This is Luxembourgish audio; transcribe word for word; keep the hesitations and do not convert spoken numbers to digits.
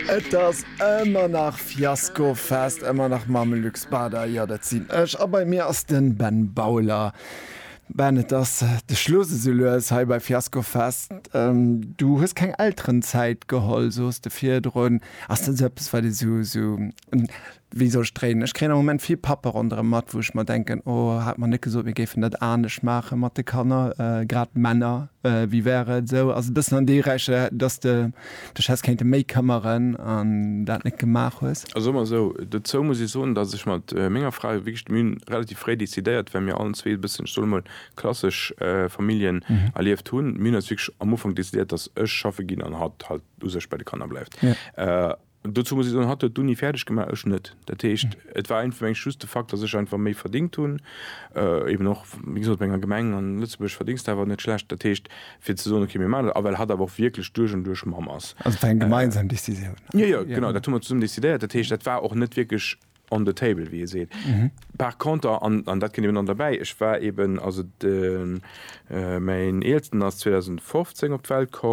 Et ass ëmmer nach Fiaskofest, ëmmer nach mam Luc Bader, jo dat sinn ech, a bei mir ass den Ben Bauler. Ben, et ass de Schluss esou lues hei bei Fiaskofest. Du hues keng Elterenzäit geholl, soos de virdrun. Ass dat esou eppes, wat ee sou, sou, wéi soll ech dréinen? Ech kréien am Moment vill Pappe ronderëm mat, wou ech mer denken, oh, hat mer net gesot, mir géifen dat anescht maache mat de Kanner, grad d'Männer, wéi wär et esou? Ass e bëssen an déi Räiche, dass de dech häss kéinte méi këmmeren an dat net gemaach hues? Also soe mer esou, dozou muss ech soen, dass ech mat menger Fra wierklech, mir hunn relativ fréi decidéiert, well mir allen zwee e bëssen, ech soe mol, klassesch Familljen erlieft hunn, mir hunn eis wierklech am Ufank decidéiert, dass ech schaffe ginn an hatt halt u sech bei de Kanner bleift. Dozou muss ech soen, hatt huet d'Uni fäerdeg gemaach, ech net. Dat heescht, et war einfach mengen ech just de Fakt, datt ech einfach méi verdingt hunn, eben och, wéi gesot, bei enger Gemeng an Lëtzebuerg verdéngs de awer net schlecht. Dat heescht, fir ze soen, okay, mir maachen dat, a well hatt awer och wierklech duerch an duerch Mamm ass. Also et war eng gemeinsam Decisioun. Jo, jo, genau, dat hu mer zesummen decidéiert. Dat heescht, dat war och net wierklech on the table, wéi ee seet. Par conter, an, an dat kënnt eben dann derbäi, ech war eben, also de mäin Eelsten ass zweedausendfofzéng op d'Welt komm,